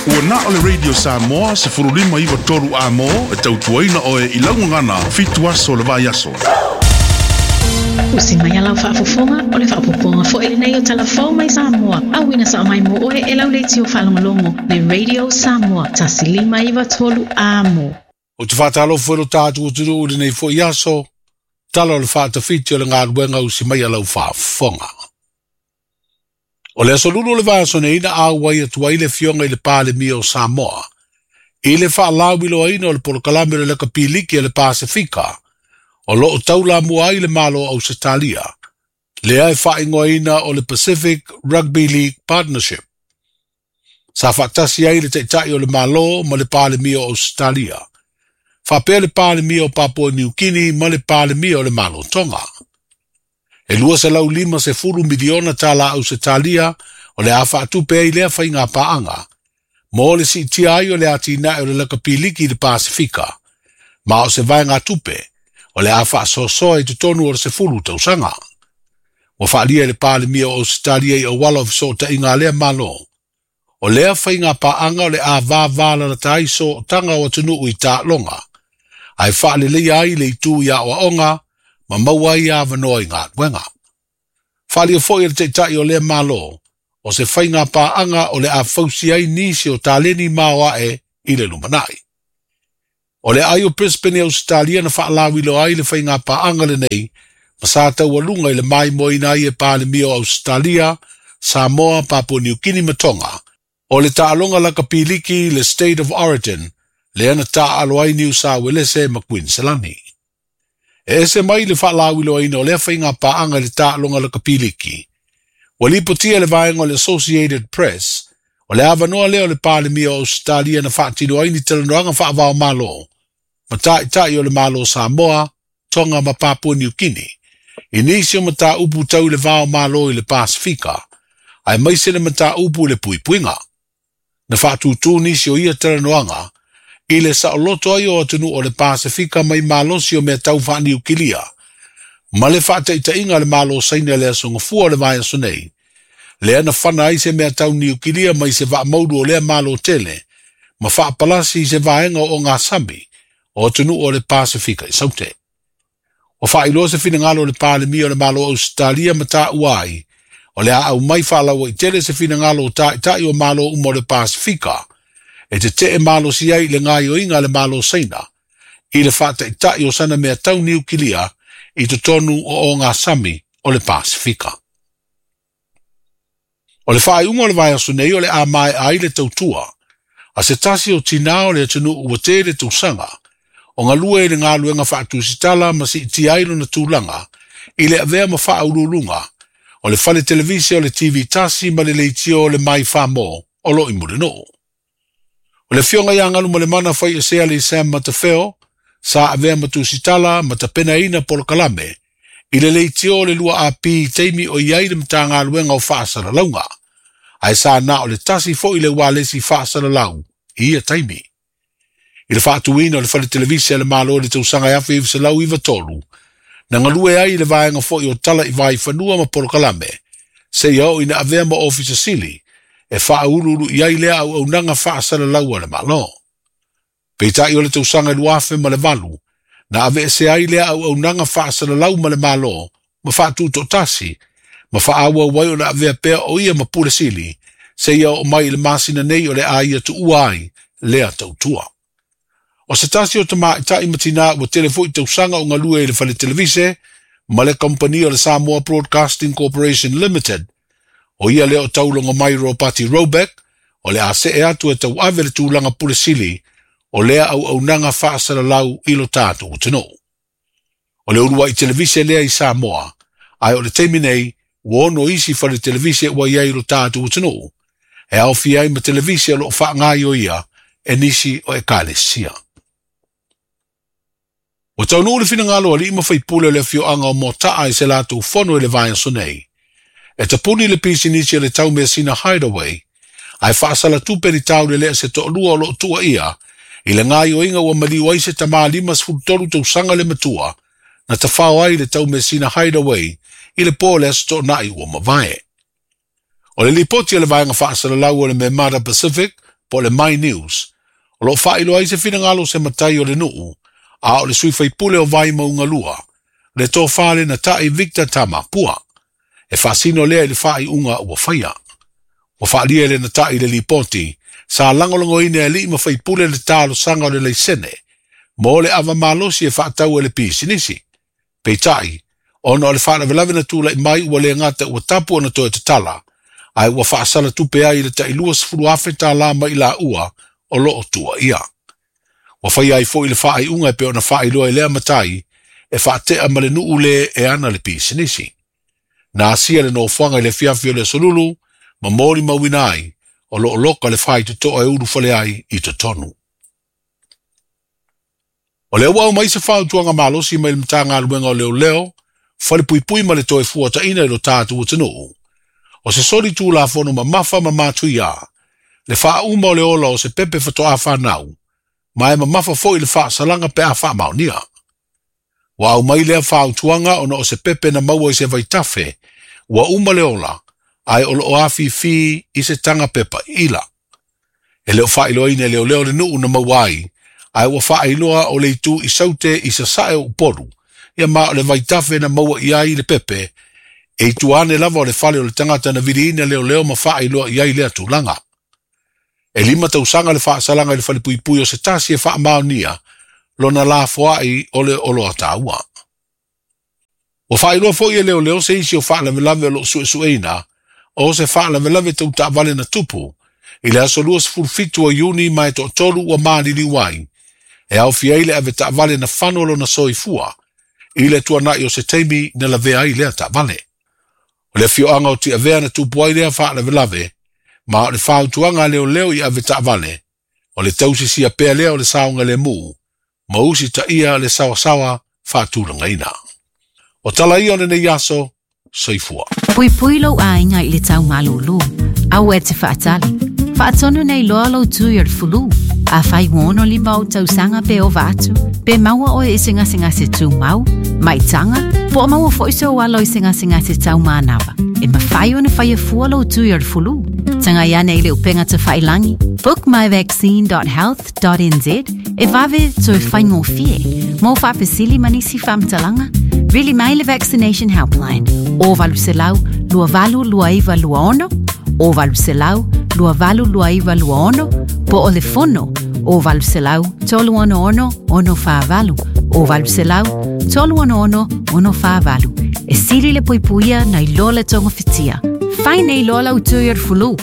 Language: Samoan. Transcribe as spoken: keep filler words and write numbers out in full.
Ua na o le Radio Samoa sefulu lima iwa tolu a mo e tautuaina oe i laugagana fitu aso le vai aso. Usi mai a lau faafofoga o le faapopoga foi lenei o talafou mai Samoa. Auina sa mai mo oe e lau leitio faalogologo le Radio Samoa tasi lima iwa tolu a mo. O te whātalo lo tātu o turu uri nei fo iaso, tala o le whaatawhiti o le ngā usi mai a lau faafofoga. O le aso lulu o le vaiaso nei na auai atu ai le fionga i le Palemia o Samoa. I le whaalawilo o le polokalame o le leka piliki o le Pasifika, o loo taula mua ai le malo o Ausetalia. Lea e whaingoaina o le Pacific Rugby League Partnership. Sa whaatasi ai le taitai o le malo ma le Palemia o Ausetalia. Whapea le Palemia o Papua New Guinea ma le Palemia o le Malo Tonga. E lua selau lima sefulu miliona tala Ausetalia o le a whaatupe ai lea whainga paanga. Mo le siitia ai o le atinae o le leka piliki le Pasifika. Ma o se vaenga tupe o le a whaasoasoa i te tonu o le sefulu tausaga. Ua whaalia le Palemia o Ausetalia i auala o fesootaiga a lea malo. O lea whainga paanga o le a vāvālalata ai sootaga o atunuu i taaloga. Ae whaaleleia ai le itu i aoaoga ma maua ai avanoa i galuega. Whaalia foi le taitai o lea malo, o se whainga paanga o le a fausi ai nisi o taleni maoae i le lumanai. O le ai o Brisbane Australia na whaalawilo ai le whainga paanga le nei, ma sa taualuga i le maimoaina ai e Palemia o Australia, Samoa, Papua New Guinea ma Tonga. O le taaloga laka piliki le State of Origin, lea na taaalo ai Niu Sa Uelese ma Kuiniselani. E ese mai le whaalawiloaina o lea whainga paanga le taaloga laka piliki. Ua lipotia le vaega o le Associated Press, o le avanoa lea o le Palemia o Australia na faatino ai ni talanoaga faava-o-Malo, ma taitai o le Malo Samoa, Tonga ma Papua New Guinea, i nisi o mataupu tau le va o Malo i le Pasifika, aemaise le mataupu i le puipuiga. Na faatūtū nisi o ia talanoaga, i le saoloto ai o atunuu o le Pasifika mai malosi o mea tau faaniukilia, ma le faataitaiga le Malo Saina le aso Gafua o le vaiaso nei, lea na fana ai se mea tau niukilia mai se vaamaulu o lea malo tele, ma faapalasi i se vaega o ogasami o atunuu o le Pasifika i Saute. Ua faailoa se finagalo o le Palemia o le Malo Ausetalia ma taua ai, o le a aumai faalauaitele se finagalo o taitai o malo uma o le Pasifika, e tetee malosi ai i le gaoioiga a le Malo Saina, i le faataitai o sana mea tau niukilia i totonu o ogasami o le Pasifika. O le faaiuga o le vaiaso nei o le a mae'a ai le tautua, a se tasi o tinā o le atunuu ua tele tausaga, o galue i le galuega faatusitala ma siitia ai lona tulaga, i le avea ma faauluuluga, o le fale televise o le T V tasi ma le leitio o le Mai Famo o loo i Mulinuu. O le afioga ia Galumalemana Faiaseali Sam Matafeo, sa avea ma tusitala ma tapenaina polokalame, i le leitio o le lua A P i taimi o i ai le Matagaluega o Faasalalauga, ae sa na o le tasi foi le ualesi faasalalau i ia taimi. I le faatuina o le fale televise a le Malo i le tausaga e afe iva selau iva tolu, na galue ai i le vaega foi o tala i vaifanua ma polokalame, seia oo ina avea ma ofisa sili, e faauluulu i ai lea auaunaga faasalalau a le Malo. Peitai o le tausaga e lua afe ma le valu, na aveesea ai lea auaunaga faasalalau ma le Malo, ma faatutoatasi, ma faaauau ai ona avea pea o ia ma pule sili, seia oo mai i le masina nei o le a ia tuua ai lea tautua. O se tasi o tamaitai ma tinā ua tele foi tausaga o galue i le fale televise ma le kamupani o le Samoa Broadcasting Corporation Limited, o ia lea o Taulogomai Ropati Robeck, o le a see atu e tauave le tulaga pule sili o lea auaunaga faasalalau i lo tatou atunuu. O le uluai televise lea i Samoa, ae o le taimi nei, ua ono isi fale televise ua i ai i lo tatou atunuu, e aofia ai ma televise o loo faagaoioia e nisi o ekalesia. Ua taunuu le finagalo o alii ma faipule o le afioaga o Motaa i se latou fono i le vaiaso nei. E tapuni le pisinisi o le taumeasina Hideaway, ae faasalatupe ni taulelea se toalua o loo tuuaia, i le gaoioiga ua maliu ai se tamā lima sefulu tolu tausaga le matua, na tafao ai le taumeasina Hideaway i le po o le aso Toonai ua mavae. O le lipoti a le vaega faasalalau o le Memada Pacific po o le My News, o loo faailoa ai se finagalo o se matai o le nuu, a o le sui faipule o Vaimauga lua, le tofā le nata'i Victor Tamapua. E faasino lea i le faaiuga ua faia. Ua faalia e le nata'i le lipoti, sa lagolagoina e alii ma faipule le talosaga o le laisene, mo le ava malosi e faatau e le pisinisi. Peitai, ona o le faalavelave na tula'i mai ua le gata ua tapu ona toe tatala, ae ua faasala tupe ai i le ta'i luasefulu afe tālā mai laua o loo tuuaia. Ua faia ai foi le faaiuga e pei ona faailoa i lea matai, e faatea ma le nuu le e ana le pisinisi. Na asia le nofoaga i le afiafi o le aso Lulu, ma molimauina ai, o loo loka le faitotoa e ulufale ai i totonu. O lea ua aumai se fautuaga malosi mai le Matagaluega o Leoleo, Falepuipui ma le Toe Fuataina i lo tatou atunuu. O se soli tulafono mamafa ma matuia, le faauma o le ola o se pepe faatoa fanau, ma e mamafa foi le faasalaga pe a faamaonia. Ua aumai lea fautuaga ona o se pepe na maua i se vaitafe, ua uma le ola, ae o loo afifi i se taga pepa ila. E le o faailoaina e leoleo le nuu na maua ai, ae ua faailoa o le itu i Saute i sasae o Upolu, ia ma o le vaitafe na maua i ai le pepe, e i tua ane lava o le fale o le tagata na viliina leoleo ma faailoa i ai lea tulaga. E lima tausaga le faasalaga i le falepuipui o se tasi e faamaonia, lona lafoai o le oloa taua. Ua faailoa foi e leoleo se isi o faalavelave o loo suesueina, o se faalavelave tau taavale na tupu, i le aso luasefulu fitu o Iuni ma e toatolu ua maliliu ai, e aofia ai le ave taavale na fano lona soifua, i le tuanai o se taimi na lavea ai lea taavale. O le afioaga o Tiavea na tupu ai lea faalavelave, ma o le fautuaga a leoleo i ave taavale, o le tausisia pea lea o le saogalemu, ma usitaia le saoasaoa faatulagaina. O tala ia o lenei aso, soifua. Puipui lou aiga i le tau malūlū. Aua e te faatali. Faatonu nei loa lou tui o le fulu. Afai ua ono lima ou tausaga pe ova atu, pe maua oe i se gasegase tumau, maitaga, po o maua foi sou alo i se gasegase taumanava. E mafai ona faia fua lou tui o le fulu. Tagai ane i le upega tafailagi, book my vaccine dot health dot n z e vave toe faigofie. Mo faafesili ma nisi faamatalaga, vili mai le Vaccination Helpline o valu selau lua valu lua iva lua ono, o valu selau lua valu lua iva lua ono, po o le fono o valu selau tolu ono ono ono whaavalu, o valu selau tolu ono ono ono whaavalu. E sili le puipuia na iloa le tonga fitia. Fai nei loa lau tui o le fulu.